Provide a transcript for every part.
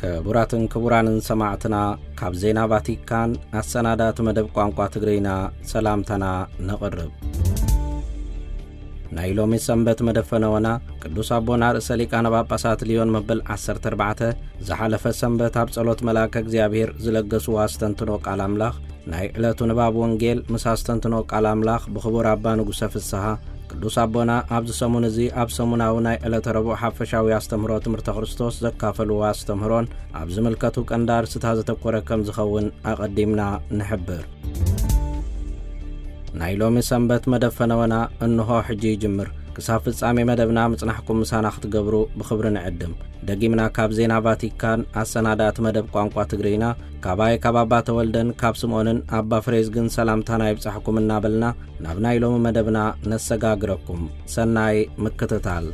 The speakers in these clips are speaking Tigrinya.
ክቡራትን ክቡራንን ሰማዕትና፣ ካብ ዜና ቫቲካን ኣሰናዳእቲ መደብ ቋንቋ ትግርኛ ሰላምታና ነቕርብ። ናይ ሎሚ ሰንበት መደፈነወና ቅዱስ ኣቦና ርእሰ ሊቃነ ጳጳሳት ሊዮን መበል ዓሰርተ ኣርባዕተ ዝሓለፈ ሰንበት ኣብ ጸሎት መልኣከ እግዚኣብሔር ዝለገስዎ ኣስተንትኖ ቃል ኣምላኽ፣ ናይ ዕለቱ ንባብ ወንጌል ምስ ኣስተንትኖ ቃል ኣምላኽ ብኽቡር ኣባ ንጉሰ ፍስሃ፣ ቅዱስ ኣቦና ኣብዚ ሰሙን እዚ ኣብ ሰሙናዊ ናይ ዕለተ ረቡዕ ሓፈሻዊ ኣስተምህሮ ትምህርተ ክርስቶስ ዘካፈልዎ ኣስተምህሮን ኣብ ዝምልከቱ ቀንዲ ኣርእስታት ዘተኮረ ከም ዝኸውን ኣቐዲምና ንሕብር። ናይ ሎሚ ሰንበት መደፈነወና እንሆ ሕጂ ይጅምር። ክሳብ ፍጻሜ መደብና ምጽናሕኩም ምሳና ክትገብሩ ብኽብሪ ንዕድም። ደጊምና ካብ ዜና ቫቲካን ኣሰናዳእቲ መደብ ቋንቋ ትግርኛ፣ ካባይ ካብ ኣባ ተወልደን ካብ ስምኦንን ኣባ ፍሬዝግን ሰላምታና ይብጻሕኩም እናበልና ናብ ናይ ሎሚ መደብና ነሰጋግረኩም። ሰናይ ምክትታል።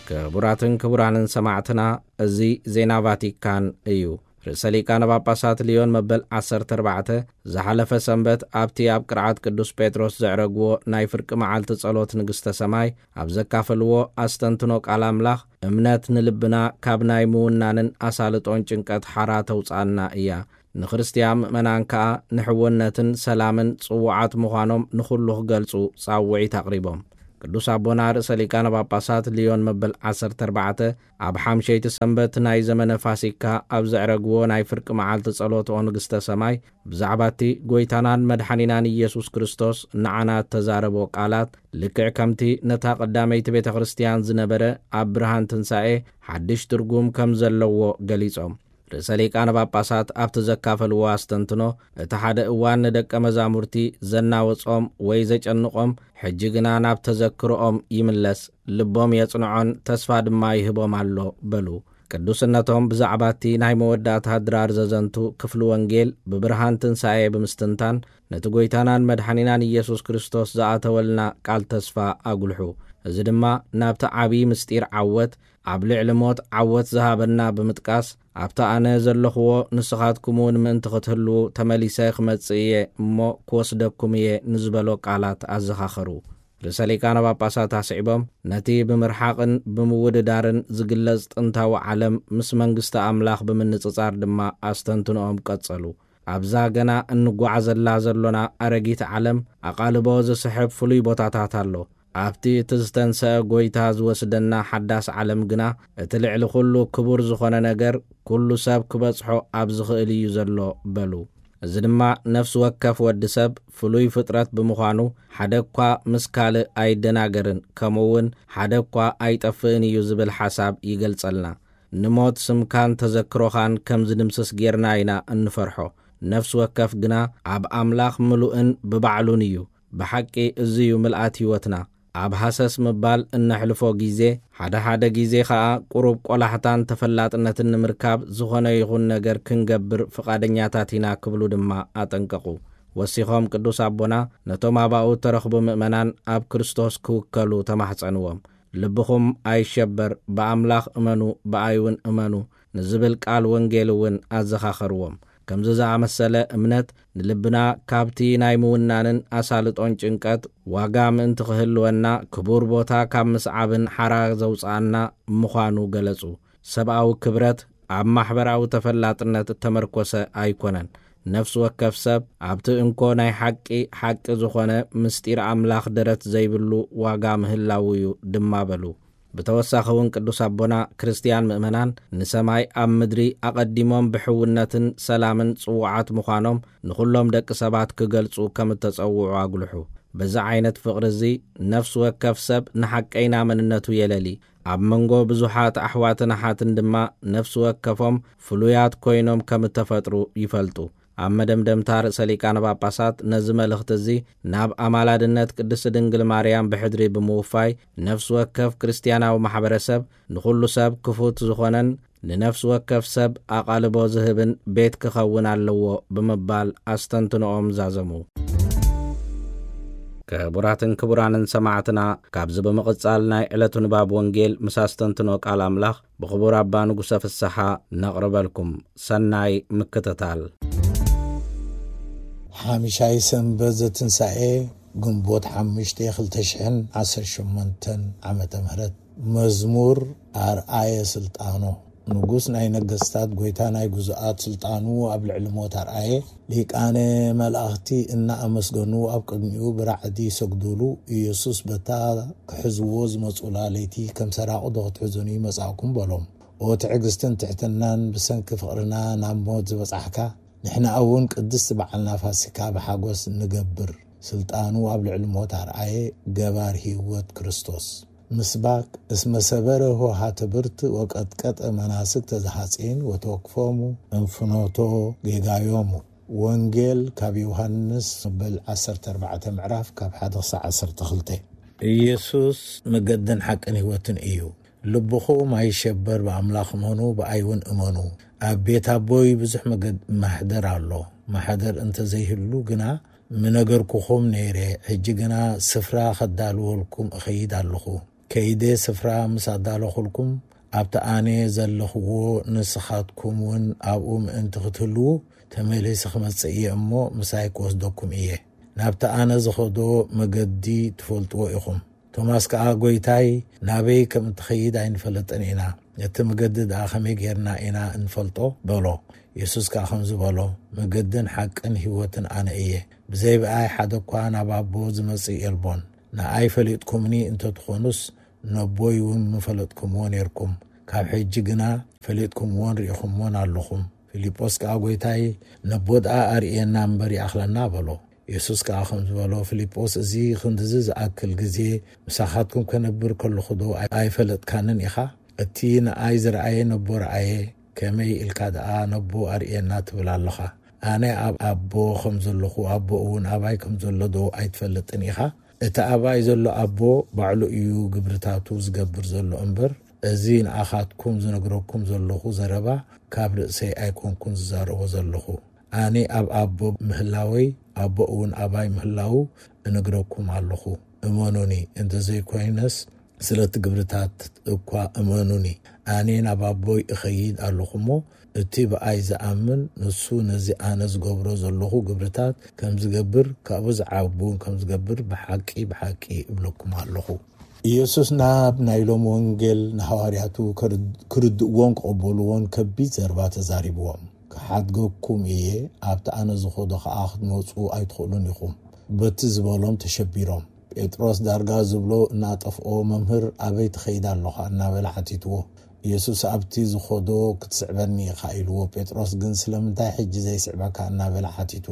ክቡራትን ክቡራንን ሰማዕትና፣ እዚ ዜና ቫቲካን እዩ። ርእሰ ሊቃነ ጳጳሳት ሊዮን መበል ዓሰርተ ኣርባዕተ ዝሓለፈ ሰንበት ኣብቲ ኣብ ቅርዓት ቅዱስ ጴጥሮስ ዘዕረግዎ ናይ ፍርቂ መዓልቲ ጸሎት ንግስተ ሰማይ ኣብ ዘካፈልዎ ኣስተንትኖ ቃል ኣምላኽ፣ እምነት ንልብና ካብ ናይ ምውናንን ኣሳልጦን ጭንቀት ሓራ ተውጽኣና እያ። ንክርስትያን ምእመናን ከኣ ንሕውነትን ሰላምን ጽዉዓት ምዃኖም ንኹሉ ክገልጹ ጻውዒት ኣቕሪቦም። ቅዱስ ኣቦና ርእሰ ሊቃነ ጳጳሳት ሊዮን መበል ዓሰርተ ኣርባዕተ ኣብ ሓምሸይቲ ሰንበት ናይ ዘመነ ፋሲካ ኣብ ዘዕረግዎ ናይ ፍርቂ መዓልቲ ጸሎት ኦ ንግስተ ሰማይ፣ ብዛዕባ እቲ ጐይታናን መድሓኒናን ኢየሱስ ክርስቶስ ንዓና እተዛረቦ ቃላት፣ ልክዕ ከምቲ ነታ ቀዳመይቲ ቤተ ክርስትያን ዝነበረ ኣብ ብርሃን ትንሳኤ ሓድሽ ትርጉም ከም ዘለዎ ገሊጾም። ርእሰ ሊቃነ ጳጳሳት ኣብቲ ዘካፈልዎ ኣስተንትኖ፣ እቲ ሓደ እዋን ንደቀ መዛሙርቲ ዘናወጾም ወይ ዘጨንቖም፣ ሕጂ ግና ናብ ተዘክሮኦም ይምለስ፣ ልቦም የጽንዖን ተስፋ ድማ ይህቦም ኣሎ በሉ። ቅዱስነቶም ብዛዕባ እቲ ናይ መወዳእታ ድራር ዘዘንቱ ክፍሊ ወንጌል ብብርሃን ትንሳኤ ብምስትንታን፣ ነቲ ጐይታናን መድሓኒናን ኢየሱስ ክርስቶስ ዝኣተወልና ቃል ተስፋ ኣጉልሑ። እዚ ድማ ናብቲ ዓብዪ ምስጢር ዓወት፣ ኣብ ልዕሊ ሞት ዓወት ዝሃበና ብምጥቃስ፣ ኣብቲ ኣነ ዘለኽዎ ንስኻትኩም እውን ምእንቲ ክትህልዉ ተመሊሰ ክመጽእ እየ እሞ ክወስደኩም እየ ንዝበሎ ቃላት ኣዘኻኸሩ። ርእሰ ሊቃነ ጳጳሳት ኣስዒቦም፣ ነቲ ብምርሓቕን ብምውድዳርን ዝግለጽ ጥንታዊ ዓለም ምስ መንግስቲ ኣምላኽ ብምንጽጻር ድማ ኣስተንትኖኦም ቀጸሉ። ኣብዛ ገና እንጓዓዘላ ዘሎና ኣረጊት ዓለም ኣቓልቦ ዝስሕብ ፍሉይ ቦታታት ኣሎ። ኣብቲ እቲ ዝተንሰአ ጐይታ ዝወስደና ሓዳስ ዓለም ግና፣ እቲ ልዕሊ ኹሉ ክቡር ዝኾነ ነገር፣ ኩሉ ሰብ ክበጽሖ ኣብ ዝኽእል እዩ ዘሎ በሉ። እዚ ድማ ነፍሲ ወከፍ ወዲ ሰብ ፍሉይ ፍጥረት ብምዃኑ፣ ሓደ እኳ ምስ ካልእ ኣይደናገርን፣ ከምኡ እውን ሓደ እኳ ኣይጠፍእን እዩ ዝብል ሓሳብ ይገልጸልና። ንሞት ስምካን ተዘክሮኻን ከም ዝድምስስ ጌርና ኢና እንፈርሖ። ነፍሲ ወከፍ ግና ኣብ ኣምላኽ ምሉእን ብባዕሉን እዩ። ብሓቂ እዚ እዩ ምልኣት ህይወትና። ኣብ ሃሰስ ምባል እነሕልፎ ግዜ፣ ሓደ ሓደ ግዜ ኸኣ ቁሩብ ቆላሕታን ተፈላጥነትን ንምርካብ ዝኾነ ይኹን ነገር ክንገብር ፍቓደኛታት ኢና ክብሉ ድማ ኣጠንቀቑ። ወሲኾም ቅዱስ ኣቦና ነቶም ኣባኡ እተረኽቡ ምእመናን ኣብ ክርስቶስ ክውከሉ ተማሕጸንዎም። ልብኹም ኣይሸበር፣ ብኣምላኽ እመኑ፣ ብኣይ እውን እመኑ ንዝብል ቃል ወንጌል እውን ኣዘኻኸርዎም። ከምዚ ዝኣመሰለ እምነት ንልብና ካብቲ ናይ ምውናንን ኣሳልጦን ጭንቀት ዋጋ ምእንቲ ክህልወና ክቡር ቦታ ካብ ምስዓብን ሓራ ዘውጽኣና ምዃኑ ገለጹ። ሰብኣዊ ክብረት ኣብ ማሕበራዊ ተፈላጥነት እተመርኮሰ ኣይኮነን። ነፍሲ ወከፍ ሰብ ኣብቲ እንኮ ናይ ሓቂ ሓቂ ዝኾነ ምስጢር ኣምላኽ ደረት ዘይብሉ ዋጋ ምህላዉ እዩ ድማ በሉ። ብተወሳኺ እውን ቅዱስ ኣቦና ክርስትያን ምእመናን ንሰማይ ኣብ ምድሪ ኣቐዲሞም ብሕውነትን ሰላምን ጽዉዓት ምዃኖም ንኹሎም ደቂ ሰባት ክገልጹ ከም እተጸውዑ ኣጉልሑ። በዚ ዓይነት ፍቕሪ እዚ ነፍሲ ወከፍ ሰብ ንሓቀይና መንነቱ የለሊ። ኣብ መንጎ ብዙሓት ኣሕዋትን ኣሓትን ድማ ነፍሲ ወከፎም ፍሉያት ኮይኖም ከም እተፈጥሩ ይፈልጡ። ኣብ መደምደምታ ርእሰ ሊቃነ ጳጳሳት ነዚ መልእኽቲ እዚ ናብ ኣማላድነት ቅድስቲ ድንግል ማርያም ብሕድሪ ብምውፋይ፣ ነፍሲ ወከፍ ክርስትያናዊ ማሕበረሰብ ንኹሉ ሰብ ክፉት ዝኾነን ንነፍሲ ወከፍ ሰብ ኣቓልቦ ዝህብን ቤት ክኸውን ኣለዎ ብምባል ኣስተንትኖኦም ዛዘሙ። ክቡራትን ክቡራንን ሰማዕትና፣ ካብዚ ብምቕጻል ናይ ዕለቱ ንባብ ወንጌል ምስ ኣስተንትኖ ቃል ኣምላኽ ብኽቡር ኣባ ንጉሰ ፍስሓ ነቕርበልኩም። ሰናይ ምክትታል። ሓምሻይ ሰንበት ዘትንሳኤ ግንቦት ሓሙሽተ ክልተ ሽሕን ዓሰርተ ሸሞንተን ዓመተ ምህረት። መዝሙር። ኣርኣየ ስልጣኖ። ንጉስ ናይ ነገስታት፣ ጎይታ ናይ ግዙኣት ስልጣኑ ኣብ ልዕሊ ሞት ኣርኣየ። ሊቃነ መላእኽቲ እናኣመስገኑ ኣብ ቅድሚኡ ብራዕዲ ይሰግዱሉ። ኢየሱስ በታ ክሕዝዎ ዝመጹላ ለይቲ፣ ከም ሰራቑ ዶ ክትሕዙኒ መጻእኩም በሎም። ኦ ትዕግስትን ትሕትናን፣ ብሰንኪ ፍቕርና ናብ ሞት ዝበጻሕካ፣ ንሕና እውን ቅድስቲ በዓልና ፋሲካ ብሓጎስ ንገብር። ስልጣኑ ኣብ ልዕሊ ሞት ኣርኣየ፣ ገባር ህይወት ክርስቶስ። ምስባክ። እስመ ሰበረ ሆሃተ ብርት ወቀጥቀጠ መናስግተ ዘሃጼን ወተወክፎሙ እንፍኖቶ ጌጋዮሙ። ወንጌል ካብ ዮሃንስ መበል ዓሰርተ ኣርባዕተ ምዕራፍ ካብ ሓደ ክሳዕ ዓሰርተ ክልተ። ኢየሱስ መገድን ሓቅን ህይወትን እዩ። ልብኹም ኣይሸበር፣ ብኣምላኽ እመኑ፣ ብኣይ እውን እመኑ። ኣብ ቤት ኣቦይ ብዙሕ መገድ ማሕደር ኣሎ። ማሕደር እንተዘይህሉ ግና ምነገርኩኹም ነይረ። ሕጂ ግና ስፍራ ኸዳልወልኩም እኸይድ ኣለኹ። ከይደ ስፍራ ምስ ኣዳለኹልኩም፣ ኣብቲ ኣነ ዘለኽዎ ንስኻትኩም እውን ኣብኡ ምእንቲ ክትህልዉ፣ ተመሊሰ ክመጽእ እየ እሞ ምሳይ ክወስደኩም እየ። ናብቲ ኣነ ዝኸዶ መገዲ ትፈልጥዎ ኢኹም። ቶማስ ከኣ፣ "ጐይታይ፣ ናበይ ከም እትኸይድ ኣይንፈለጥን ኢና። እቲ መገዲ ደኣ ከመይ ጌርና ኢና እንፈልጦ?" በሎ። የሱስ ከኣ ከምዚ በሎ፣ "መገድን ሓቅን ህይወትን ኣነ እየ። ብዘይ ብኣይ ሓደ እኳ ናብ ኣቦ ዝመጽእ የልቦን። ንኣይ ፈሊጥኩምኒ እንተ ትኾኑስ፣ ነቦይ እውን ምፈለጥኩምዎ ኔርኩም። ካብ ሕጂ ግና ፈሊጥኩምዎን ርኢኹምዎን ኣለኹም።" ፊልጶስ ከኣ፣ "ጐይታይ፣ ነቦ ደኣ ኣርእየና እምበር ይኣኽለና" በሎ። የሱስ ከኣ ከምዚ በሎ፣ "ፊልጶስ፣ እዚ ክንድዚ ዝኣክል ግዜ ምሳኻትኩም ከነብር ከለኹ ዶ ኣይ-፣ ኣይፈለጥካንን ኢኻ? እቲ ንኣይ ዝረኣየ ነቦ ረኣየ፣ ከመይ ኢልካ ደኣ ነቦ ኣርእየና ትብል ኣለኻ? ኣነ ኣብ ኣቦ ከም ዘለኹ፣ ኣቦ እውን ኣባይ ከም ዘሎ ዶ ኣይትፈልጥን ኢኻ? እቲ ኣባይ ዘሎ ኣቦ ባዕሉ እዩ ግብርታቱ ዝገብር ዘሎ እምበር፣ እዚ ንኣኻትኩም ዝነግረኩም ዘለኹ ዘረባ ካብ ርእሰይ ኣይኮንኩን ዝዛረቦ ዘለኹ። ኣነ ኣብ ኣቦ ምህላወይ፣ ኣቦ እውን ኣባይ ምህላዉ እነግረኩም ኣለኹ። እመኑኒ፣ እንተዘይኮይነስ ስለቲ ግብርታት እኳ እመኑኒ። ኣነ ናብ ኣቦይ እኸይድ ኣለኹ እሞ፣ እቲ ብኣይ ዝኣምን ንሱ ነዚ ኣነ ዝገብሮ ዘለኹ ግብርታት ከም ዝገብር፣ ካብኡ ዝዓቢ እውን ከም ዝገብር ብሓቂ፣ ብሓቂ እብለኩም ኣለኹ።" ኢየሱስ ናብ ናይ ሎም ወንጌል ንሃዋርያቱ ክርድ-፣ ክርድእዎን ክቕበልዎን ከቢድ ዘረባ ተዛሪብዎም። "ክሓድገኩም እየ፣ ኣብቲ ኣነ ዝኸዶ ኸኣ ክትመጹ ኣይትኽእሉን ኢኹም። በቲ ዝበሎም ተሸቢሮም። ጴጥሮስ ዳርጋ ዝብሎ እናጠፍኦ፣ "መምህር፣ ኣበይ ትኸይድ ኣለኻ?" እናበለ ሓቲትዎ። ኢየሱስ፣ "ኣብቲ ዝኸዶ ክትስዕበኒ ኢኻ" ኢልዎ። ጴጥሮስ ግን፣ "ስለምንታይ ሕጂ ዘይስዕበካ?" እናበለ ሓቲቱ።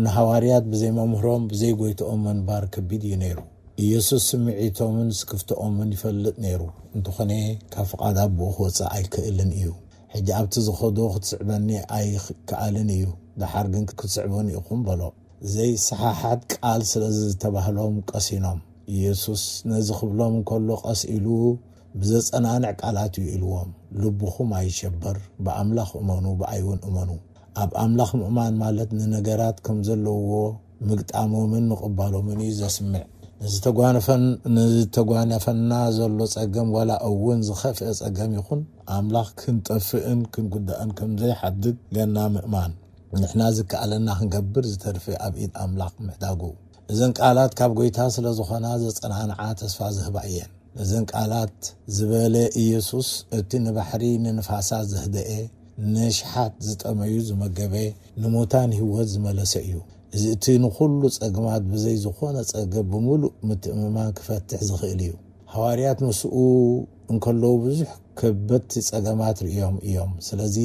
ንሃዋርያት ብዘይ መምህሮም፣ ብዘይ ጐይትኦም ምንባር ከቢድ እዩ ነይሩ። ኢየሱስ ስምዒቶምን ስክፍትኦምን ይፈልጥ ነይሩ። እንተኾነ፣ ካብ ፍቓድ ኣቦኡ ክወጽእ ኣይክእልን እዩ። "ሕጂ ኣብቲ ዝኸዶ ክትስዕበኒ ኣይከኣልን እዩ፣ ደሓር ግን ክትስዕቡኒ ኢኹም" በሎ። ዘይሰሓሓት ቃል ስለ ዝተባህሎም ቀሲኖም። ኢየሱስ ነዚ ክብሎም እንከሎ ቀስ ኢሉ ብዘጸናንዕ ቃላት እዩ ኢልዎም፣ "ልብኹም ኣይሸበር፣ ብኣምላኽ እመኑ፣ ብኣይ እውን እመኑ።" ኣብ ኣምላኽ ምእማን ማለት ንነገራት ከም ዘለውዎ ምግጣሞምን ምቕባሎምን እዩ ዘስምዕ። ንዝተጓነፈን-፣ ንዝተጓነፈና ዘሎ ጸገም፣ ዋላ እውን ዝኸፍአ ጸገም ይኹን፣ ኣምላኽ ክንጠፍእን ክንጉዳእን ከም ዘይሓድግ ገና ምእማን። ንሕና ዝከኣለና ክንገብር፣ ዝተርፈ ኣብ ኢድ ኣምላኽ ምሕዳጉ። እዘን ቃላት ካብ ጐይታ ስለ ዝኾና ዘጸናንዓ፣ ተስፋ ዝህባ እየን። ነዘን ቃላት ዝበለ ኢየሱስ፣ እቲ ንባሕሪ ንንፋሳት ዘህደኤ፣ ንኣሽሓት ዝጠመዩ ዝመገበ፣ ንሙታን ህይወት ዝመለሰ እዩ። እዚ እቲ ንኹሉ ጸገማት ብዘይ ዝኾነ ጸገም ብምሉእ ምትእምማን ክፈትሕ ዝኽእል እዩ። ሃዋርያት ምስኡ እንከለዉ ብዙሕ ከበድቲ ጸገማት ርእዮም እዮም። ስለዚ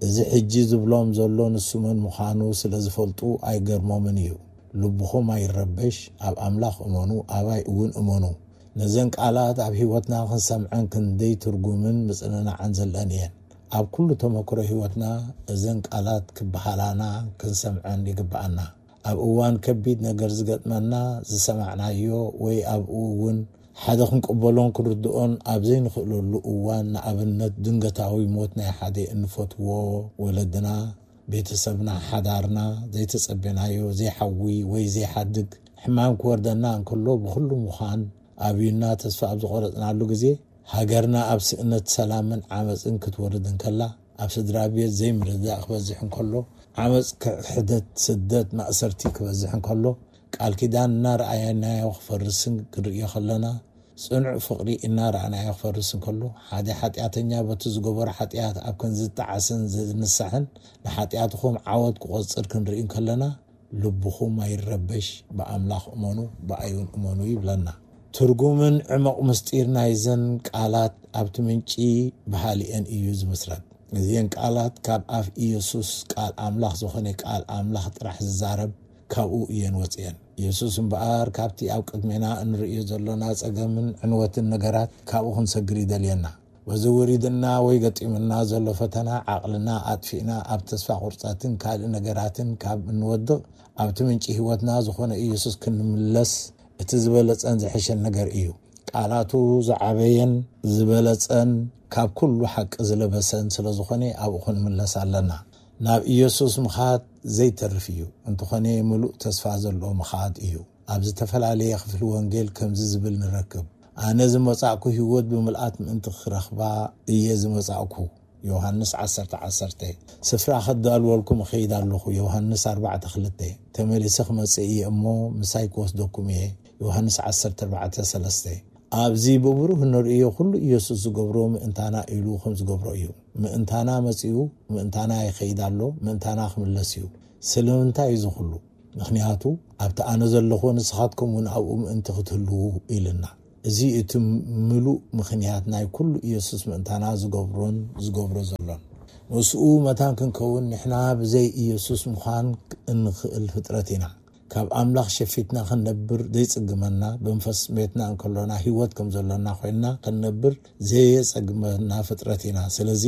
እዚ ሕጂ ዝብሎም ዘሎ ንሱ መን ምዃኑ ስለ ዝፈልጡ ኣይገርሞምን እዩ። "ልብኹም ኣይረበሽ፣ ኣብ ኣምላኽ እመኑ፣ ኣባይ እውን እመኑ።" ነዘን ቃላት ኣብ ህይወትና ክንሰምዐን ክንደይ ትርጉምን ምጽንናዕን ዘለኣን እየን። ኣብ ኩሉ ተመክሮ ህይወትና እዘን ቃላት ክበሃላና ክንሰምዐን ይግብኣና። ኣብ እዋን ከቢድ ነገር ዝገጥመና፣ ዝሰማዕናዮ ወይ ኣብኡ እውን ሓደ ክንቅበሎን ክንርድኦን ኣብ ዘይንኽእለሉ እዋን፣ ንኣብነት ድንገታዊ ሞት ናይ ሓደ እንፈትዎ ወለድና፣ ቤተሰብና፣ ሓዳርና፣ ዘይተጸበናዮ ዘይሓዊ ወይ ዘይሓድግ ሕማም ክወርደና እንከሎ፣ ብኹሉ ምዃን ኣብዩና ተስፋ ኣብ ዝቖረጽናሉ ግዜ፣ ሃገርና ኣብ ስእነት ሰላምን ዓመጽን ክትወርድ እንከላ፣ ኣብ ስድራ ቤት ዘይምርድዳእ ክበዝሕ እንከሎ፣ ዓመጽ፣ ክሕደት፣ ስደት፣ ማእሰርቲ ክበዝሕ እንከሎ፣ ቃል ኪዳን እናረኣየናዮ ክፈርስን ክንርእዮ ከለና፣ ጽኑዕ ፍቕሪ እናረኣናዮ ክፈርስ እንከሎ፣ ሓደ ሓጢኣተኛ በቲ ዝገበሮ ሓጢኣት ኣብ ክንዲ ዝጠዓስን ዝንሳሕን ንሓጢኣቱ ከም ዓወት ክቖጽር ክንርኢ እንከለና፣ ልብኹም ኣይረበሽ፣ ብኣምላኽ እመኑ፣ ብኣይውን እመኑ ይብለና። ትርጉምን ዕመቕ ምስጢር ናይዘን ቃላት ኣብቲ ምንጪ በሃሊኤን እዩ ዝምስረት። እዚን ቃላት ካብ ኣፍ ኢየሱስ ቃል ኣምላኽ ዝኾነ ቃል ኣምላኽ ጥራሕ ዝዛረብ ካብኡ እየን ወፅየን። ኢየሱስ እምበኣር ካብቲ ኣብ ቅድሜና እንርእዮ ዘሎና ጸገምን ዕንወትን ነገራት ካብኡ ክንሰግር ይደልየና። በዚ ውሪድና ወይ ገጢምና ዘሎ ፈተና ዓቕልና ኣጥፊእና ኣብ ተስፋ ቁርፀትን ካልእ ነገራትን ካብ እንወድቕ ኣብቲ ምንጪ ህይወትና ዝኾነ ኢየሱስ ክንምለስ እቲ ዝበለጸን ዝሐሸን ነገር እዩ። ቃላቱ ዝዓበየን ዝበለጸን ካብ ኩሉ ሓቂ ዝለበሰን ስለ ዝኾነ ኣብኡ ክንምለስ ኣለና። ናብ ኢየሱስ ምኻድ ዘይተርፍ እዩ። እንተኾነ ምሉእ ተስፋ ዘለዎ ምኻድ እዩ። ኣብ ዝተፈላለየ ክፍሊ ወንጌል ከምዚ ዝብል ንረክብ፣ ኣነ ዝመጻእኩ ህይወት ብምልኣት ምእንቲ ክረኽባ እየ ዝመጻእኩ። ዮሃንስ ዓሰርተ ዓሰርተ። ስፍራ ከዳልወልኩም እኸይድ ኣለኹ። ዮሃንስ ኣርባዕተ ክልተ። ተመሊሰ ክመጽእ እየ እሞ ምሳይ ክወስደኩም እየ። ዮሃንስ ዓሰርተ ኣርባዕተ ሰለስተ። ኣብዚ ብብሩህ እንርእዮ ኩሉ ኢየሱስ ዝገብሮ ምእንታና ኢሉ ከም ዝገብሮ እዩ። ምእንታና መጺኡ፣ ምእንታና ይኸይድ ኣሎ፣ ምእንታና ክምለስ እዩ። ስለምንታይ እዚ ኩሉ? ምኽንያቱ ኣብቲ ኣነ ዘለኹ ንስኻትኩም እውን ኣብኡ ምእንቲ ክትህልዉ ኢልና። እዚ እቲ ምሉእ ምኽንያት ናይ ኩሉ ኢየሱስ ምእንታና ዝገብሮን ዝገብሮ ዘሎን። ምስኡ መታን ክንከውን ንሕና ብዘይ ኢየሱስ ምዃን እንኽእል ፍጥረት ኢና። ካብ ኣምላኽ ሸፊትና ክንነብር ዘይጽግመና፣ ብመንፈስ ሜትና እንከሎና ህይወት ከም ዘሎና ኮይንና ክንነብር ዘየጸግመና ፍጥረት ኢና። ስለዚ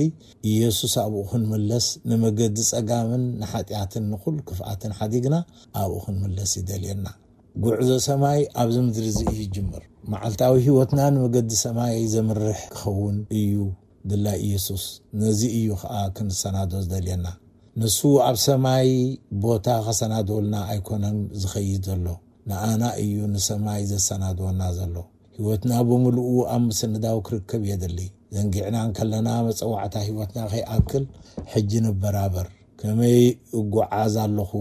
ኢየሱስ ኣብኡ ክንምለስ፣ ንመገዲ ጸጋምን ንሓጢኣትን ንኹሉ ክፍኣትን ሓዲግና ኣብኡ ክንምለስ ይደልየና። ጉዕዞ ሰማይ ኣብዚ ምድሪ እዚ እዩ ይጅምር። መዓልታዊ ህይወትና ንመገዲ ሰማይ ዘምርሕ ክኸውን እዩ ድላይ ኢየሱስ። ነዚ እዩ ኸኣ ክንሰናዶ ዝደልየና። ንሱ ኣብ ሰማይ ቦታ ከሰናድወልና ኣይኮነን ዝኸይድ ዘሎ፣ ንኣና እዩ ንሰማይ ዘሰናድወና ዘሎ። ህይወትና ብምሉኡ ኣብ ምስንዳው ክርከብ የድሊ። ዘንጊዕና እንከለና መጸዋዕታ ህይወትና ከይኣክል ሕጂ ንበራበር። ከመይ እጓዓዝ ኣለኹ?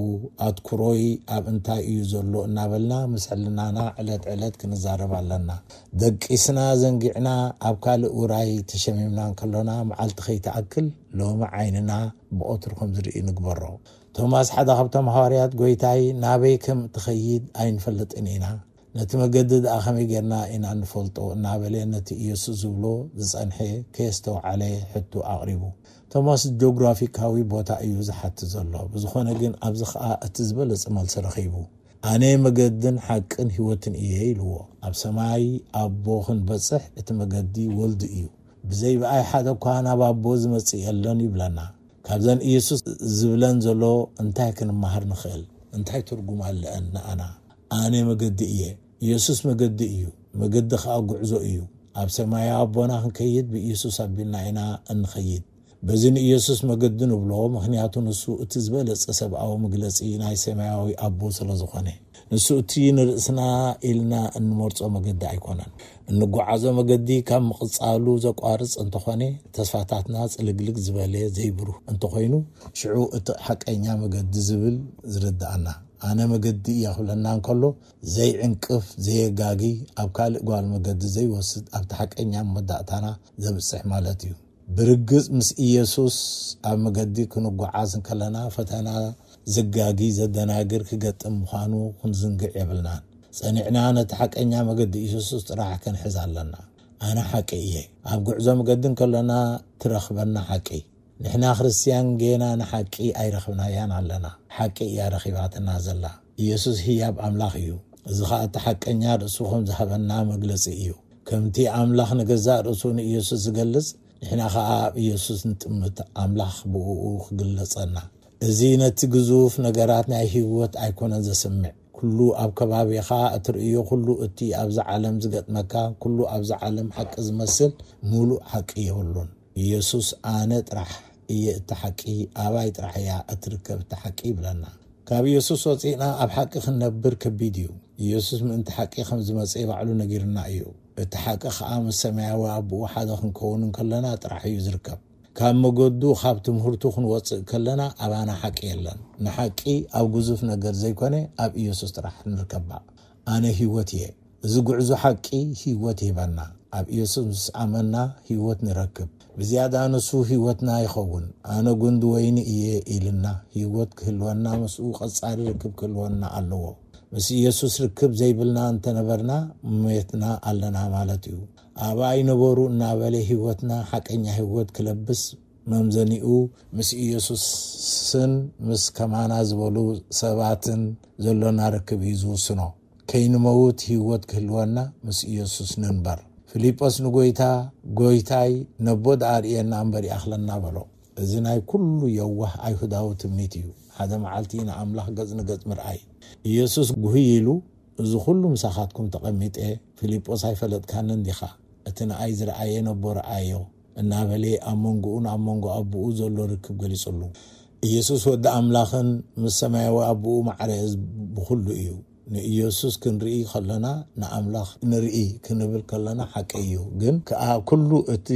ኣትኩሮይ ኣብ እንታይ እዩ ዘሎ? እናበልና ምስ ሕልናና ዕለት ዕለት ክንዛረብ ኣለና። ደቂስና ዘንጊዕና ኣብ ካልእ ውራይ ተሸሚምና እንከሎና መዓልቲ ከይትኣክል ሎሚ ዓይንና ብቐትሩ ከም ዝርኢ ንግበሮ። ቶማስ ሓደ ካብቶም ሃዋርያት ጎይታይ ናበይ ከም እትኸይድ ኣይንፈልጥን ኢና። ነቲ መገዲ ደኣ ከመይ ጌርና ኢና እንፈልጦ? እናበለ ነቲ ኢየሱስ ዝብሎ ዝጸንሐ ከየስተውዓለ ሕቶ ኣቕሪቡ። ቶማስ ጂኦግራፊካዊ ቦታ እዩ ዝሓትት ዘሎ። ብዝኾነ ግን ኣብዚ ኸኣ እቲ ዝበለጸ መልሲ ረኺቡ። ኣነ መገድን ሓቅን ህይወትን እየ ኢልዎ። ኣብ ሰማይ ኣቦ ክንበጽሕ እቲ መገዲ ወልዱ እዩ። ብዘይ ብኣይ ሓደ እኳ ናብ ኣቦ ዝመጽእ የለን ይብለና። ካብዘን ኢየሱስ ዝብለን ዘሎ እንታይ ክንመሃር ንኽእል? እንታይ ትርጉም ኣለአን ንኣና? ኣነ መገዲ እየ። ኢየሱስ መገዲ እዩ። መገዲ ኸኣ ጉዕዞ እዩ። ኣብ ሰማያዊ ኣቦና ክንከይድ ብኢየሱስ ኣቢልና ኢና እንኸይድ። በዚ ንኢየሱስ መገዲ ንብሎ፣ ምኽንያቱ ንሱ እቲ ዝበለጸ ሰብኣዊ መግለጺ ናይ ሰማያዊ ኣቦ ስለ ዝኾነ። ንሱ እቲ ንርእስና ኢልና እንመርጾ መገዲ ኣይኮነን። እንጓዓዞ መገዲ ካብ ምቕጻሉ ዘቋርጽ እንተኾነ፣ ተስፋታትና ጽልግልግ ዝበለ ዘይብሩህ እንተኾይኑ፣ ሽዑ እቲ ሓቀኛ መገዲ ዝብል ዝርድኣና። ኣነ መገዲ እየ ክብለና እንከሎ፣ ዘይዕንቅፍ፣ ዘየጋጊ፣ ኣብ ካልእ ጓል መገዲ ዘይወስድ፣ ኣብቲ ሓቀኛ መወዳእታና ዘብጽሕ ማለት እዩ። ብርግጽ ምስ ኢየሱስ ኣብ መገዲ ክንጓዓዝ እንከለና፣ ፈተና ዘጋጊ፣ ዘደናግር ክገጥም ምዃኑ ክንዝንግዕ የብልናን። ጸኒዕና ነቲ ሓቀኛ መገዲ ኢየሱስ ጥራሕ ክንሕዝ ኣለና። ኣነ ሓቂ እየ። ኣብ ጉዕዞ መገዲ እንከለና ትረኽበና ሓቂ። ንሕና ክርስትያን ጌና ንሓቂ ኣይረኽብናያን ኣለና። ሓቂ እያ ረኺባትና ዘላ። ኢየሱስ ህያብ ኣምላኽ እዩ። እዚ ኸኣ እቲ ሓቀኛ ርእሱ ከም ዝሃበና መግለጺ እዩ። ከምቲ ኣምላኽ ንገዛእ ርእሱ ንኢየሱስ ዝገልጽ፣ ንሕና ኸኣ ኣብ ኢየሱስ ንጥምት፣ ኣምላኽ ብእኡ ክግለጸና። እዚ ነቲ ግዙፍ ነገራት ናይ ህይወት ኣይኮነን ዘስምዕ። ኩሉ ኣብ ከባቢኻ እትርእዮ፣ ኩሉ እቲ ኣብዚ ዓለም ዝገጥመካ፣ ኩሉ ኣብዚ ዓለም ሓቂ ዝመስል፣ ምሉእ ሓቂ የብሉን። ኢየሱስ፣ "ኣነ ጥራሕ እየ እቲ ሓቂ፣ ኣባይ ጥራሕ እያ እትርከብ እታ ሓቂ" ይብለና። ካብ ኢየሱስ ወጺእና ኣብ ሓቂ ክንነብር ከቢድ እዩ። ኢየሱስ ምእንቲ ሓቂ ከም ዝመጸ ባዕሉ ነጊርና እዩ። እቲ ሓቂ ኸኣ ምስ ሰማያዊ ኣቦኡ ሓደ ክንከውን እንከለና ጥራሕ እዩ ዝርከብ። ካብ መገዱ፣ ካብ ትምህርቱ ክንወጽእ ከለና ኣባና ሓቂ የለን። ንሓቂ ኣብ ግዙፍ ነገር ዘይኮነ ኣብ ኢየሱስ ጥራሕ ንርከባ። ኣነ ህይወት እየ። እዚ ጉዕዞ ሓቂ ህይወት ይህበና። ኣብ ኢየሱስ ምስ ኣመና ህይወት ንረክብ። ብዝያዳ ንሱ ህይወትና ይኸውን። "ኣነ ጉንዲ ወይኒ እየ" ኢልና፣ ህይወት ክህልወና ምስኡ ቀጻሊ ርክብ ክህልወና ኣለዎ። ምስ ኢየሱስ ርክብ ዘይብልና እንተነበርና፣ ሞትና ኣለና ማለት እዩ። "ኣብኣ ይነበሩ" እናበለ ህይወትና፣ ሓቀኛ ህይወት ክለብስ መምዘኒኡ ምስ ኢየሱስን ምስ ከማና ዝበሉ ሰባትን ዘሎና ርክብ እዩ ዝውስኖ። "ከይንመውት ህይወት ክህልወና ምስ ኢየሱስ ንንበር።" ፊልጶስ ንጎይታ፣ "ጎይታይ፣ ነቦ ደኣ ርእየና እምበር ይኣኽለና" በሎ። እዚ ናይ ኩሉ የዋህ ኣይሁዳዊ ትምኒት እዩ። ሓደ መዓልቲ ንኣምላኽ ገጽ ንገጽ ምርኣይ። ኢየሱስ ጉህይ ኢሉ፣ "እዚ ኩሉ ምሳኻትኩም ተቐሚጠ፣ ፊልጶስ ኣይፈለጥካንን ዲኻ? እቲ ንኣይ ዝረኣየ ነቦ ረኣዮ" እናበለ ኣብ መንጎኡን ኣብ መንጎ ኣቦኡ ዘሎ ርክብ ገሊጹሉ። ኢየሱስ ወዲ ኣምላኽን ምስ ሰማያዊ ኣቦኡ ማዕረ ብኹሉ እዩ። ንኢየሱስ ክንርኢ ከለና ንኣምላኽ ንርኢ ክንብል ከለና ሓቂ እዩ። ግን ከኣ ኩሉ እቲ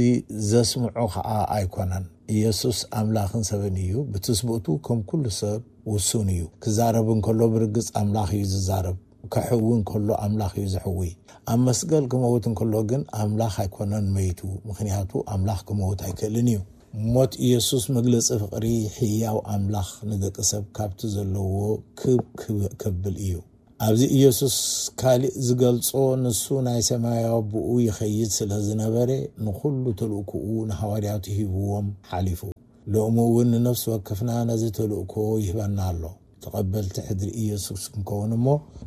ዘስምዖ ከኣ ኣይኮነን። ኢየሱስ ኣምላኽን ሰብን እዩ። ብትስብእቱ ከም ኩሉ ሰብ ውሱን እዩ። ክዛረብ እንከሎ ብርግጽ ኣምላኽ እዩ ዝዛረብ። ከሕዊ እንከሎ ኣምላኽ እዩ ዘሕዊ። ኣብ መስቀል ክመውት እንከሎ ግን ኣምላኽ ኣይኮነን መይቱ፣ ምኽንያቱ ኣምላኽ ክመውት ኣይክእልን እዩ። ሞት ኢየሱስ መግለጺ ፍቕሪ ህያው ኣምላኽ ንደቂ ሰብ ካብቲ ዘለዎ ክብ ክብ ከብል እዩ። ኣብዚ ኢየሱስ ካልእ ዝገልጾ፣ ንሱ ናይ ሰማያዊ ኣቦኡ ይኸይድ ስለ ዝነበረ፣ ንኹሉ ተልእኮኡ ንሃዋርያቱ ሂብዎም ሓሊፉ። ሎሚ እውን ንነፍሲ ወከፍና ነዚ ተልእኮ ይህበና ኣሎ። ተቐበልቲ ሕድሪ ኢየሱስ ክንከውን እሞ፣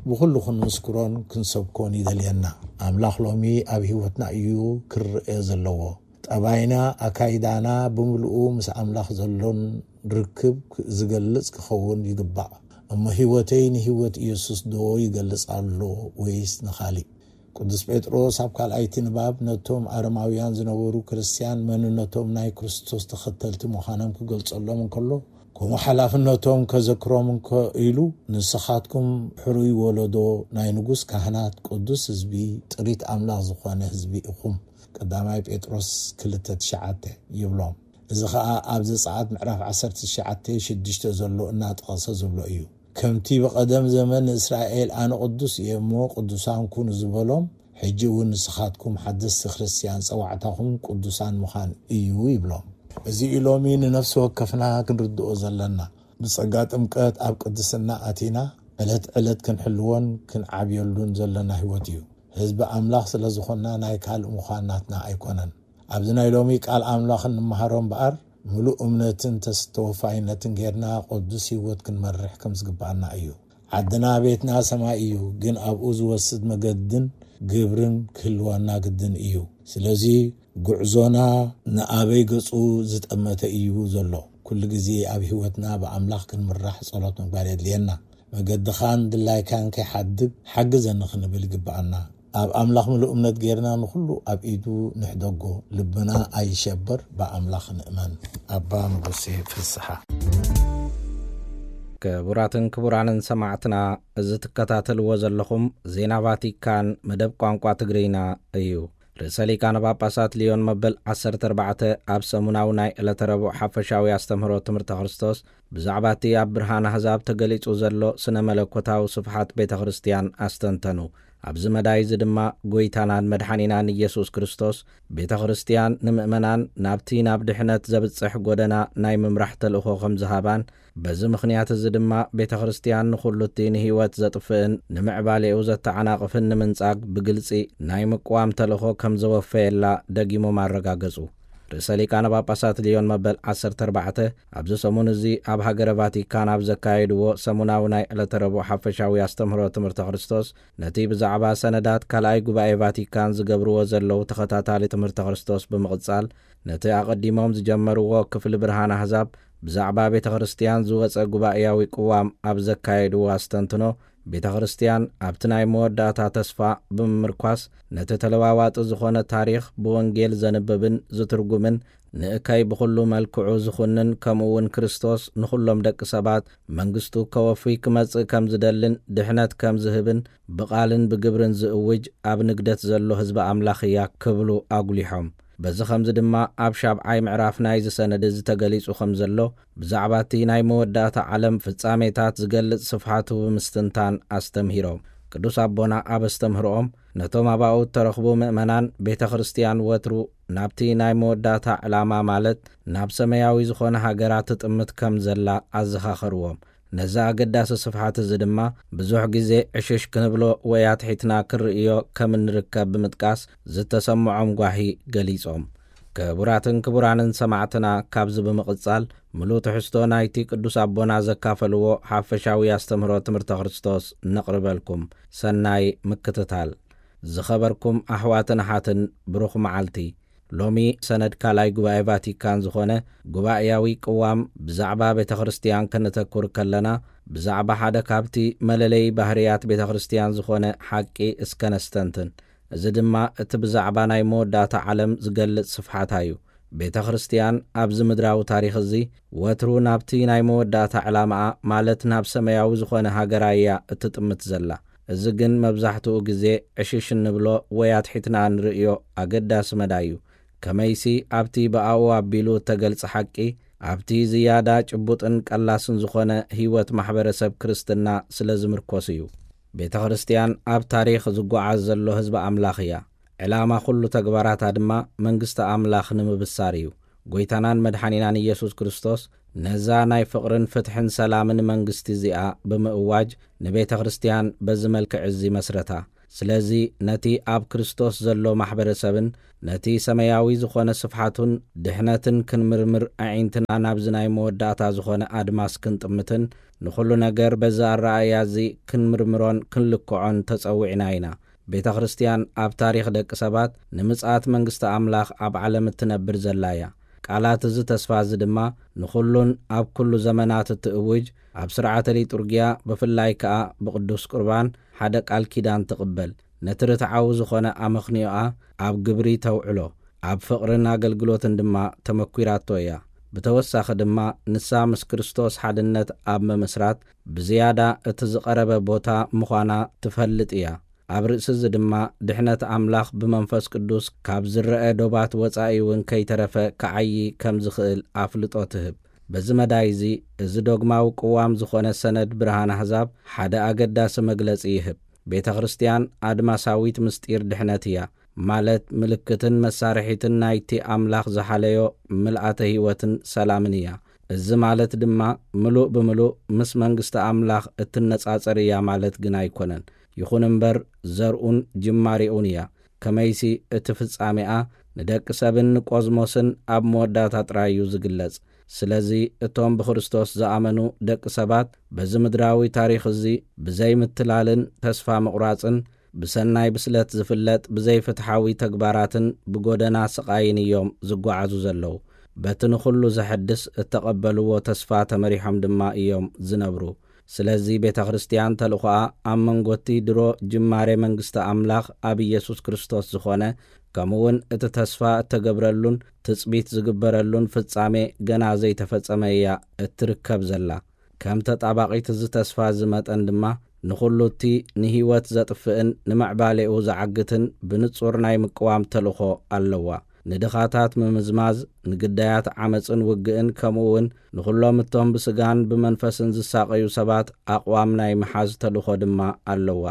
ብኹሉ ክንምስክሮን ክንሰብኮን ይደልየና። ኣምላኽ ሎሚ ኣብ ህይወትና እዩ ክረአ ዘለዎ። ጠባይና፣ ኣካይዳና ብምልኡ ምስ ኣምላኽ ዘሎን ርክብ ዝገልጽ ክኸውን ይግባእ። እሞ ህይወተይ ንህይወት ኢየሱስ ዶ ይገልጽ ኣሎ ወይስ ንኻሊእ? ቅዱስ ጴጥሮስ ኣብ ካልኣይቲ ንባብ ነቶም ኣረማውያን ዝነበሩ ክርስትያን መንነቶም ናይ ክርስቶስ ተኸተልቲ ምዃኖም ክገልጸሎም እንከሎ፣ ከምኡ ሓላፍነቶም ከዘክሮም እንከ ኢሉ፣ "ንስኻትኩም ሕሩይ ወለዶ፣ ናይ ንጉስ ካህናት፣ ቅዱስ ህዝቢ፣ ጥሪት ኣምላኽ ዝኾነ ህዝቢ ኢኹም" ቀዳማይ ጴጥሮስ ክልተ ትሽዓተ ይብሎም። እዚ ኸኣ ኣብ ዘጸኣት ምዕራፍ ዓሰርተ ትሽዓተ ሽዱሽተ ዘሎ እናጠቐሰ ዝብሎ እዩ። "ከምቲ ብቐደም ዘመን ንእስራኤል ኣነ ቅዱስ እየ እሞ ቅዱሳን ኩኑ" ዝበሎም፣ ሕጂ እውን ንስኻትኩም ሓደስቲ ክርስትያን ጸዋዕታኹም ቅዱሳን ምዃን እዩ ይብሎም። እዚ እዩ ሎሚ ንነፍሲ ወከፍና ክንርድኦ ዘለና። ብጸጋ ጥምቀት ኣብ ቅድስና ኣቲና ዕለት ዕለት ክንሕልዎን ክንዓብየሉን ዘለና ህይወት እዩ። ህዝቢ ኣምላኽ ስለ ዝኾንና ናይ ካልእ ምዃን ናትና ኣይኮነን። ኣብዚ ናይ ሎሚ ቃል ኣምላኽ እንመሃሮ እምበኣር፣ ምሉእ እምነትን ተስ-፣ ተወፋይነትን ጌርና ቅዱስ ህይወት ክንመርሕ ከም ዝግብኣና እዩ። ዓድና ቤትና ሰማይ እዩ፣ ግን ኣብኡ ዝወስድ መገድን ግብርን ክህልወና ግድን እዩ። ስለዚ ጉዕዞና ንኣበይ ገጹ ዝጠመተ እዩ ዘሎ? ኩሉ ግዜ ኣብ ህይወትና ብኣምላኽ ክንምራሕ ጸሎት ምግባር የድልየና። መገድኻን ድላይካን ከይሓድግ ሓግዘኒ ክንብል ይግብኣና። ኣብ ኣምላኽ ምሉእ እምነት ጌርና ንኹሉ ኣብ ኢዱ ንሕደጎ። ልብና ኣይሸበር፣ ብኣምላኽ ንእመን። ኣባ ንጉሴ ፍስሓ። ክቡራትን ክቡራንን ሰማዕትና፣ እዚ ትከታተልዎ ዘለኹም ዜና ቫቲካን መደብ ቋንቋ ትግርኛ እዩ። ርእሰ ሊቃነ ጳጳሳት ሊዮን መበል ዓሰርተ ኣርባዕተ ኣብ ሰሙናዊ ናይ ዕለተ ረቡዕ ሓፈሻዊ ኣስተምህሮ ትምህርተ ክርስቶስ ብዛዕባ እቲ ኣብ ብርሃን ኣህዛብ ተገሊጹ ዘሎ ስነ መለኮታዊ ስፍሓት ቤተ ክርስትያን ኣስተንተኑ። ኣብዚ መዳይ እዚ ድማ ጎይታናን መድሓኒናን ኢየሱስ ክርስቶስ ቤተ ክርስትያን ንምእመናን ናብቲ ናብ ድሕነት ዘብጽሕ ጎደና ናይ ምምራሕ ተልእኾ ከም ዝሃባን፣ በዚ ምኽንያት እዚ ድማ ቤተ ክርስትያን ንኹሉ እቲ ንህይወት ዘጥፍእን ንምዕባሌኡ ዘተዓናቕፍን ንምንጻግ ብግልጺ ናይ ምቅዋም ተልእኾ ከም ዘወፈየላ ደጊሞም ኣረጋገጹ። ርእሰ ሊቃነ ጳጳሳት ሊዮን መበል ዓሰርተ ኣርባዕተ ኣብዚ ሰሙን እዚ ኣብ ሃገረ ቫቲካን ኣብ ዘካየድዎ ሰሙናዊ ናይ ዕለተ ረቡዕ ሓፈሻዊ ኣስተምህሮ ትምህርተ ክርስቶስ፣ ነቲ ብዛዕባ ሰነዳት ካልኣይ ጉባኤ ቫቲካን ዝገብርዎ ዘለዉ ተኸታታሊ ትምህርተ ክርስቶስ ብምቕጻል፣ ነቲ ኣቐዲሞም ዝጀመርዎ ክፍሊ ብርሃን ኣህዛብ ብዛዕባ ቤተ ክርስትያን ዝወጸ ጉባኤያዊ ቅዋም ኣብ ዘካየድዎ ኣስተንትኖ፣ ቤተ ክርስትያን ኣብቲ ናይ መወዳእታ ተስፋ ብምምርኳስ፣ ነቲ ተለዋዋጢ ዝኾነ ታሪኽ ብወንጌል ዘንብብን ዝትርጉምን፣ ንእከይ ብኹሉ መልክዑ ዝኹንን፣ ከምኡ እውን ክርስቶስ ንኹሎም ደቂ ሰባት መንግስቱ ከወፊ ክመጽእ ከም ዝደልን ድሕነት ከም ዝህብን ብቓልን ብግብርን ዝእውጅ ኣብ ንግደት ዘሎ ህዝቢ ኣምላኽ እያ ክብሉ ኣጉሊሖም። በዚ ኸምዚ ድማ ኣብ ሻብዓይ ምዕራፍ ናይዚ ሰነድ እዚ ተገሊጹ ከም ዘሎ፣ ብዛዕባ እቲ ናይ መወዳእታ ዓለም ፍጻሜታት ዝገልጽ ስፍሓቱ ብምስትንታን ኣስተምሂሮም። ቅዱስ ኣቦና ኣብ ኣስተምህሮኦም፣ ነቶም ኣባኡ እተረኽቡ ምእመናን፣ ቤተ ክርስቲያን ወትሩ ናብቲ ናይ መወዳእታ ዕላማ፣ ማለት ናብ ሰማያዊ ዝኾነ ሃገራ ትጥምት ከም ዘላ ኣዘኻኸርዎም። ነዚ ኣገዳሲ ስፍሓት እዚ ድማ ብዙሕ ግዜ ዕሽሽ ክንብሎ ወይ ኣትሒትና ክንርእዮ ከም እንርከብ ብምጥቃስ ዝተሰምዖም ጓሂ ገሊጾም። ክቡራትን ክቡራንን ሰማዕትና፣ ካብዚ ብምቕጻል ምሉእ ትሕዝቶ ናይቲ ቅዱስ ኣቦና ዘካፈልዎ ሓፈሻዊ ኣስተምህሮ ትምህርተ ክርስቶስ ነቕርበልኩም። ሰናይ ምክትታል። ዝኸበርኩም ኣሕዋትን ኣሓትን፣ ብሩኽ መዓልቲ። ሎሚ ሰነድ ካልኣይ ጉባኤ ቫቲካን ዝኾነ ጉባኤያዊ ቅዋም ብዛዕባ ቤተ ክርስቲያን ከነተኩር ከለና፣ ብዛዕባ ሓደ ካብቲ መለለዪ ባህርያት ቤተ ክርስቲያን ዝኾነ ሓቂ እስከ ነስተንትን። እዚ ድማ እቲ ብዛዕባ ናይ መወዳእታ ዓለም ዝገልጽ ስፍሓታ እዩ። ቤተ ክርስቲያን ኣብዚ ምድራዊ ታሪኽ እዚ ወትሩ ናብቲ ናይ መወዳእታ ዕላማኣ፣ ማለት ናብ ሰማያዊ ዝኾነ ሃገራ እያ እትጥምት ዘላ። እዚ ግን መብዛሕትኡ ግዜ ዕሽሽ እንብሎ ወይ ኣትሒትና እንርእዮ ኣገዳሲ መዳይ እዩ። ከመይሲ ኣብቲ ብኣኡ ኣቢሉ እተገልጸ ሓቂ፣ ኣብቲ ዝያዳ ጭቡጥን ቀላስን ዝኾነ ህይወት ማሕበረሰብ ክርስትና ስለ ዝምርኮስ እዩ። ቤተ ክርስቲያን ኣብ ታሪኽ ዝጓዓዝ ዘሎ ህዝቢ ኣምላኽ እያ። ዕላማ ኩሉ ተግባራታ ድማ መንግስቲ ኣምላኽ ንምብሳር እዩ። ጎይታናን መድሓኒናን ኢየሱስ ክርስቶስ ነዛ ናይ ፍቕርን ፍትሕን ሰላምን መንግስቲ እዚኣ ብምእዋጅ፣ ንቤተ ክርስቲያን በዚ መልክዕ እዚ መስረታ። ስለዚ ነቲ ኣብ ክርስቶስ ዘሎ ማሕበረሰብን ነቲ ሰማያዊ ዝኾነ ስፍሓቱን ድሕነትን ክንምርምር፣ ኣዒንትና ናብዚ ናይ መወዳእታ ዝኾነ ኣድማስ ክንጥምትን ንኹሉ ነገር በዚ ኣረኣእያ እዚ ክንምርምሮን ክንልክዖን ተጸዊዕና ኢና። ቤተ ክርስቲያን ኣብ ታሪኽ ደቂ ሰባት ንምጽኣት መንግስቲ ኣምላኽ ኣብ ዓለም እትነብር ዘላ እያ። ቃላት እዚ ተስፋ እዚ ድማ ንኹሉን ኣብ ኩሉ ዘመናት እትእውጅ፣ ኣብ ስርዓተ ሊጡርጊያ ብፍላይ ከኣ ብቅዱስ ቁርባን ሓደ ቃል ኪዳን ትቕበል። ነቲ ርትዓዊ ዝኾነ ኣመኽንዮኣ ኣብ ግብሪ ተውዕሎ፣ ኣብ ፍቕርን ኣገልግሎትን ድማ ተመኲራቶ እያ። ብተወሳኺ ድማ ንሳ ምስ ክርስቶስ ሓድነት ኣብ ምምስራት ብዝያዳ እቲ ዝቐረበ ቦታ ምዃና ትፈልጥ እያ። ኣብ ርእሲ እዚ ድማ ድሕነት ኣምላኽ ብመንፈስ ቅዱስ ካብ ዝረአ ዶባት ወጻኢ እውን ከይተረፈ ክዓዪ ከም ዝኽእል ኣፍልጦ ትህብ። በዚ መዳይ እዚ፣ እዚ ዶግማዊ ቅዋም ዝኾነ ሰነድ ብርሃን ኣህዛብ ሓደ ኣገዳሲ መግለጺ ይህብ። ቤተ ክርስቲያን ኣድማሳዊት ምስጢር ድሕነት እያ፣ ማለት ምልክትን መሳርሒትን ናይቲ ኣምላኽ ዝሓለዮ ምልኣተ ህይወትን ሰላምን እያ። እዚ ማለት ድማ ምሉእ ብምሉእ ምስ መንግስቲ ኣምላኽ እትነጻጸር እያ ማለት ግን ኣይኮነን። ይኹን እምበር፣ ዘርኡን ጅማሬኡን እያ። ከመይሲ፣ እቲ ፍጻሜኣ ንደቂ ሰብን ንቆዝሞስን ኣብ መወዳእታ ጥራይ እዩ ዝግለጽ። ስለዚ፣ እቶም ብክርስቶስ ዝኣመኑ ደቂ ሰባት በዚ ምድራዊ ታሪኽ እዚ ብዘይ ምትላልን ተስፋ ምቑራጽን፣ ብሰናይ ብስለት ዝፍለጥ ብዘይፍትሓዊ ተግባራትን ብጎደና ስቓይን እዮም ዝጓዓዙ ዘለዉ። በቲ ንኹሉ ዘሐድስ እተቐበልዎ ተስፋ ተመሪሖም ድማ እዮም ዝነብሩ። ስለዚ ቤተ ክርስቲያን ተልእኾኣ ኣብ መንጎቲ ድሮ ጅማሬ መንግስቲ ኣምላኽ ኣብ ኢየሱስ ክርስቶስ ዝኾነ፣ ከምኡውን እቲ ተስፋ እተገብረሉን ትጽቢት ዝግበረሉን ፍጻሜ ገና ዘይተፈጸመ እያ እትርከብ ዘላ። ከም ተጣባቒት እዚ ተስፋ እዚ መጠን ድማ፣ ንኹሉ እቲ ንህይወት ዘጥፍእን ንምዕባሌኡ ዝዓግትን ብንጹር ናይ ምቅዋም ተልእኾ ኣለዋ። ንድኻታት ምምዝማዝ፣ ንግዳያት ዓመጽን ውግእን፣ ከምኡ እውን ንኹሎም እቶም ብስጋን ብመንፈስን ዝሳቐዩ ሰባት ኣቕዋም ናይ ምሓዝ ተልእኾ ድማ ኣለዋ።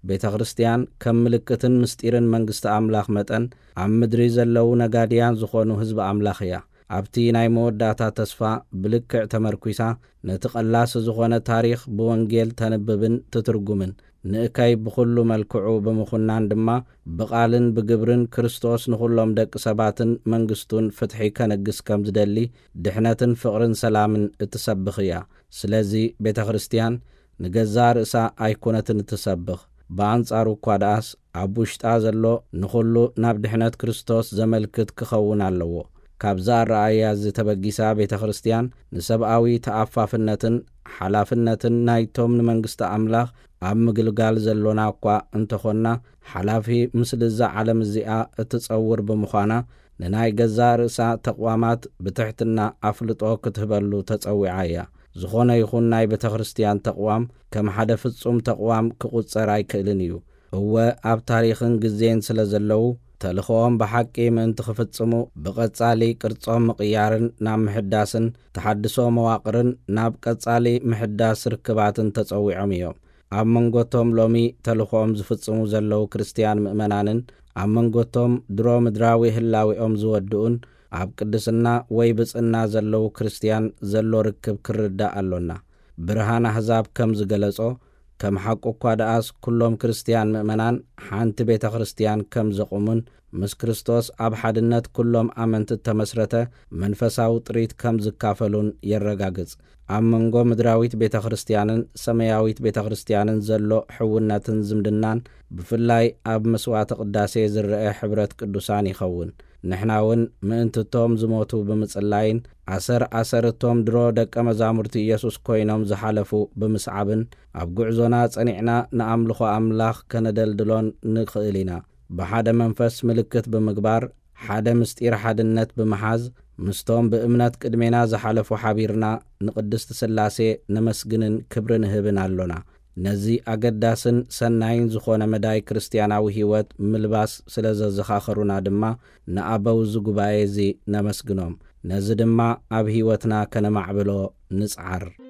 ቤተ ክርስቲያን ከም ምልክትን ምስጢርን መንግስቲ ኣምላኽ መጠን፣ ኣብ ምድሪ ዘለዉ ነጋድያን ዝኾኑ ህዝቢ ኣምላኽ እያ። ኣብቲ ናይ መወዳእታ ተስፋ ብልክዕ ተመርኲሳ፣ ነቲ ቀላሲ ዝኾነ ታሪኽ ብወንጌል ተንብብን ትትርጉምን፣ ንእከይ ብኹሉ መልክዑ ብምኹናን ድማ፣ ብቓልን ብግብርን ክርስቶስ ንኹሎም ደቂ ሰባትን መንግስቱን ፍትሒ ከነግስ ከም ዝደሊ፣ ድሕነትን ፍቕርን ሰላምን እትሰብኽ እያ። ስለዚ ቤተ ክርስቲያን ንገዛእ ርእሳ ኣይኮነትን እትሰብኽ። ብኣንጻሩ እኳ ደኣስ፣ ኣብ ውሽጣ ዘሎ ንኹሉ ናብ ድሕነት ክርስቶስ ዘመልክት ክኸውን ኣለዎ። ካብዚ ኣረኣእያ እዚ ተበጊሳ፣ ቤተ ክርስቲያን ንሰብኣዊ ተኣፋፍነትን ሓላፍነትን ናይቶም ንመንግስቲ ኣምላኽ ኣብ ምግልጋል ዘሎና እኳ እንተኾንና፣ ሓላፊ ምስልዛ ዓለም እዚኣ እትጸውር ብምዃና፣ ንናይ ገዛእ ርእሳ ተቕዋማት ብትሕትና ኣፍልጦ ክትህበሉ ተጸዊዓ እያ። ዝኾነ ይኹን ናይ ቤተ ክርስቲያን ተቕዋም ከም ሓደ ፍጹም ተቕዋም ክቑጸር ኣይክእልን እዩ። እወ፣ ኣብ ታሪኽን ግዜን ስለ ዘለዉ፣ ተልእኾኦም ብሓቂ ምእንቲ ክፍጽሙ፣ ብቐጻሊ ቅርጾም ምቕያርን ናብ ምሕዳስን፣ ተሓድሶ መዋቕርን ናብ ቀጻሊ ምሕዳስ ርክባትን ተጸዊዖም እዮም። ኣብ መንጎቶም ሎሚ ተልእኾኦም ዝፍጽሙ ዘለዉ ክርስትያን ምእመናንን ኣብ መንጎቶም ድሮ ምድራዊ ህላዌኦም ዝወድኡን ኣብ ቅድስና ወይ ብጽና ዘለዉ ክርስትያን ዘሎ ርክብ ክርዳእ ኣሎና። ብርሃን ኣህዛብ ከም ዝገለጾ፣ ከም ሓቁ እኳ ደኣስ ኩሎም ክርስትያን ምእመናን ሓንቲ ቤተ ክርስትያን ከም ዘቑሙን ምስ ክርስቶስ ኣብ ሓድነት ኩሎም ኣመንቲ እተመስረተ መንፈሳዊ ጥሪት ከም ዝካፈሉን የረጋግጽ። ኣብ መንጎ ምድራዊት ቤተ ክርስትያንን ሰማያዊት ቤተ ክርስትያንን ዘሎ ሕውነትን ዝምድናን ብፍላይ ኣብ መስዋዕተ ቅዳሴ ዝረአ ሕብረት ቅዱሳን ይኸውን። ንሕና እውን ምእንትቶም ዝሞቱ ብምጽላይን ኣሰር ኣሰርቶም ድሮ ደቀ መዛሙርቲ ኢየሱስ ኮይኖም ዝሓለፉ ብምስዓብን ኣብ ጉዕዞና ጸኒዕና ንኣምልኾ ኣምላኽ ከነደልድሎን ንኽእል ኢና። ብሓደ መንፈስ ምልክት ብምግባር ሓደ ምስጢር ሓድነት ብምሓዝ ምስቶም ብእምነት ቅድሜና ዝሓለፉ ሓቢርና ንቅድስቲ ሥላሴ ነመስግንን ክብሪ ንህብን ኣሎና። ነዚ ኣገዳስን ሰናይን ዝኾነ መዳይ ክርስትያናዊ ሕይወት ምልባስ ስለ ዘዘኻኸሩና ድማ ንኣበው እዚ ጉባኤ እዚ ነመስግኖም። ነዚ ድማ ኣብ ሕይወትና ከነማዕብሎ ንጽዓር።